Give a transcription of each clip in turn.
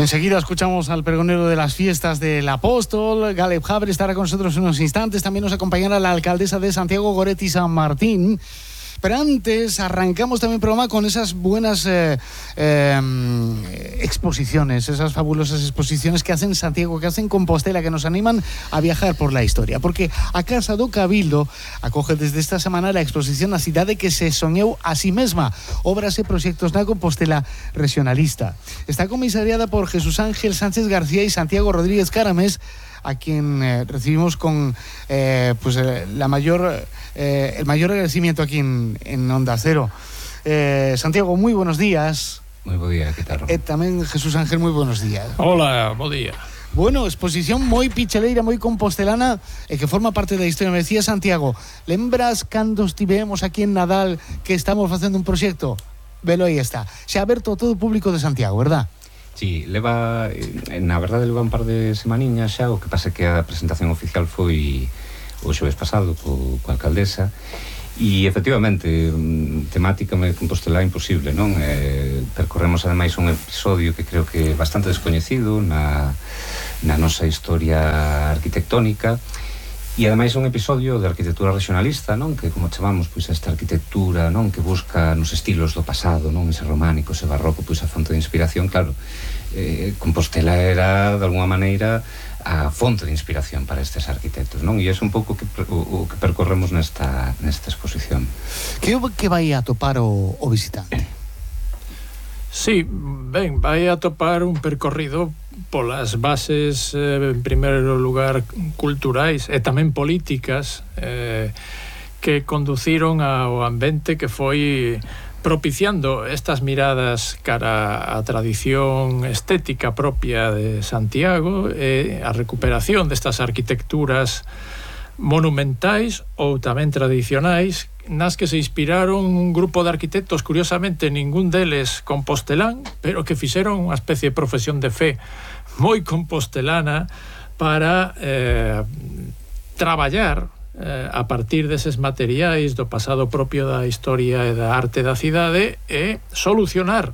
Enseguida escuchamos al pregonero de las fiestas del Apóstol. Galeb Haber estará con nosotros en unos instantes. También nos acompañará la alcaldesa de Santiago, Goretti San Martín. Pero antes arrancamos también el programa con esas buenas exposiciones, esas fabulosas exposiciones que hacen Santiago, que hacen Compostela, que nos animan a viajar por la historia. Porque a Casa do Cabildo acoge desde esta semana la exposición A cidade que se soñou a sí mesma, obras e proxectos na Compostela regionalista. Está comisariada por Jesús Ángel Sánchez García y Santiago Rodríguez Caramés, a quien recibimos con el mayor agradecimiento aquí en Onda Cero. Santiago, muy buenos días. Muy buen día, ¿qué tal? Tamén Jesús Ángel, muy buenos días. Hola, buen día. Bueno, exposición moi picheleira, moi compostelana e que forma parte da historia. Me decía Santiago, lembras cando estivemos aquí en Nadal que estamos facendo un proxecto? Velo, aí está. Xa aberto a todo o público de Santiago, verdad? Sí, na verdade leva un par de semaniñas xa. O que pasa é que a presentación oficial foi o xoves pasado coa alcaldesa. E efectivamente, temática de Compostela imposible, non? Percorremos ademais un episodio que creo que é bastante descoñecido na nosa historia arquitectónica. E ademais é un episodio de arquitectura regionalista, non? Que como chamamos, pois esta arquitectura, non? Que busca nos estilos do pasado, non? Ese románico, ese barroco, pois a fonte de inspiración, claro. Compostela era, de alguma maneira, a fonte de inspiración para estes arquitectos, non? E é un pouco o que percorremos nesta exposición. Que vai a topar o visitante? Sí, ben, vai a topar un percorrido polas bases, en primeiro lugar, culturais e tamén políticas que conduciron ao ambiente que foi propiciando estas miradas cara á tradición estética propia de Santiago e a recuperación destas arquitecturas monumentais ou tamén tradicionais nas que se inspiraron un grupo de arquitectos, curiosamente ningún deles compostelán, pero que fixeron unha especie de profesión de fe moi compostelana para traballar a partir deses materiais do pasado propio da historia e da arte da cidade e solucionar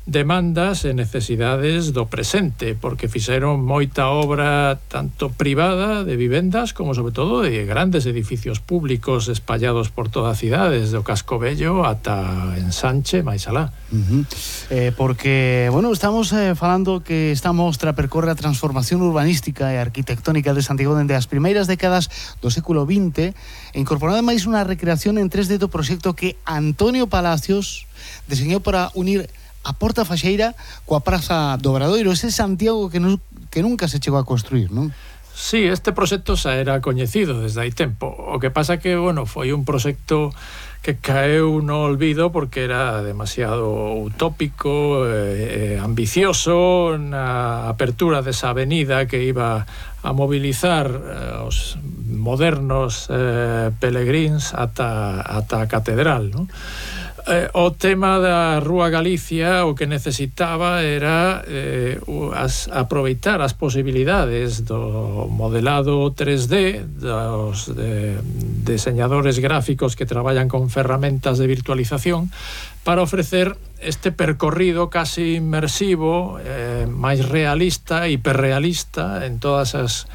demandas e necesidades do presente, porque fixeron moita obra tanto privada de vivendas como sobre todo de grandes edificios públicos espallados por toda a cidade, desde o Casco Vello ata Ensanche, máis alá. Porque, bueno, estamos falando que esta mostra percorre a transformación urbanística e arquitectónica de Santiago dende as primeiras décadas do século XX e incorporando máis unha recreación en 3D do proxecto que Antonio Palacios deseñou para unir a Porta Faxeira coa Praza do Obradoiro, ese Santiago que nunca se chegou a construir, non? Sí, este proxecto xa era coñecido desde hai tempo. O que pasa que, bueno, foi un proxecto que caeu no olvido porque era demasiado utópico, ambicioso na apertura desa avenida que iba a mobilizar os modernos peregrins ata a catedral, non? O tema da Rúa Galicia o que necesitaba era aproveitar as posibilidades do modelado 3D dos diseñadores gráficos que traballan con ferramentas de virtualización para ofrecer este percorrido casi inmersivo, máis realista, hiperrealista en todas as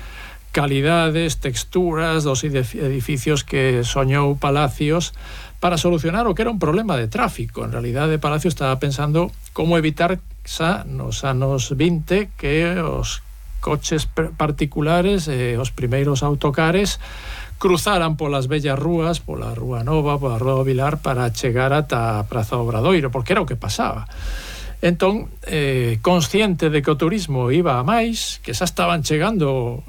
calidades, texturas dos edificios que soñou Palacios para solucionar o que era un problema de tráfico. En realidade, Palacio estaba pensando como evitar xa nos anos 20 que os coches particulares e os primeiros autocares cruzaran polas bellas rúas, pola Rúa Nova, pola Rúa do Vilar para chegar ata a Praza do Obradoiro, porque era o que pasaba. Entón, consciente de que o turismo iba a máis, que xa estaban chegando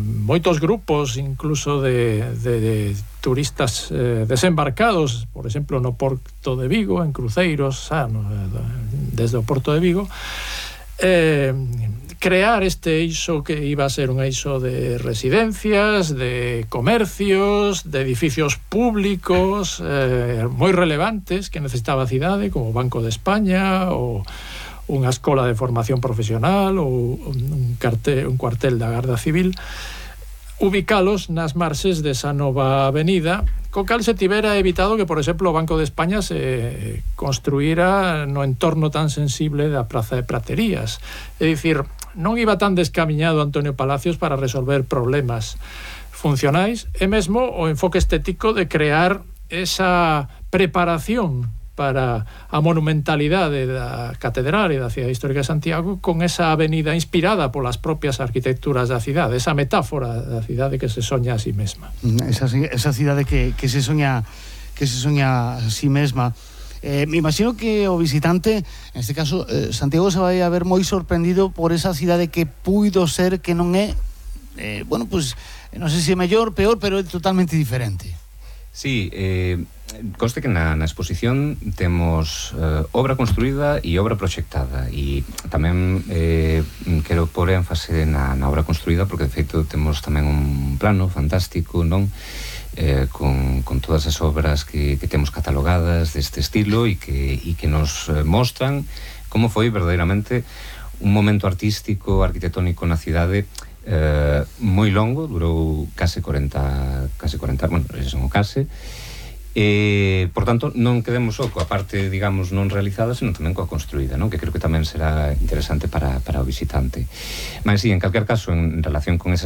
moitos grupos incluso de turistas desembarcados, por exemplo no Porto de Vigo, en cruceiros desde o Porto de Vigo, crear este eixo que iba a ser un eixo de residencias, de comercios, de edificios públicos moi relevantes que necesitaba a cidade, como o Banco de España ou unha escola de formación profesional ou un cuartel da Garda Civil, ubicalos nas marxes desa nova avenida, co cal se tivera evitado que, por exemplo, o Banco de España se construíra no entorno tan sensible da Praza de Praterías. É dicir, non iba tan descamiñado Antonio Palacios para resolver problemas funcionais, e mesmo o enfoque estético de crear esa preparación para a monumentalidade da catedral e da cidade histórica de Santiago, con esa avenida inspirada polas propias arquitecturas da cidade, esa metáfora da cidade que se soña a sí mesma. Esa cidade que se soña a sí mesma. Me imagino que o visitante, en este caso Santiago, se vai a ver moi sorprendido por esa cidade que puido ser, que non é, bueno, pues non sei se é mellor, peor, pero é totalmente diferente. Sí, conste que na exposición temos obra construída e obra proxectada, e tamén quero pôr énfase na obra construída, porque de feito temos tamén un plano fantástico, non? Con todas as obras que temos catalogadas deste estilo e que nos mostran como foi verdadeiramente un momento artístico, arquitectónico na cidade moi longo, durou case 40, bueno, son o case. Por tanto, non quedemos só coa parte, digamos, non realizada, senón tamén coa construída, non? Que creo que tamén será interesante para o visitante. Mas, sí, en calquer caso, en relación con esas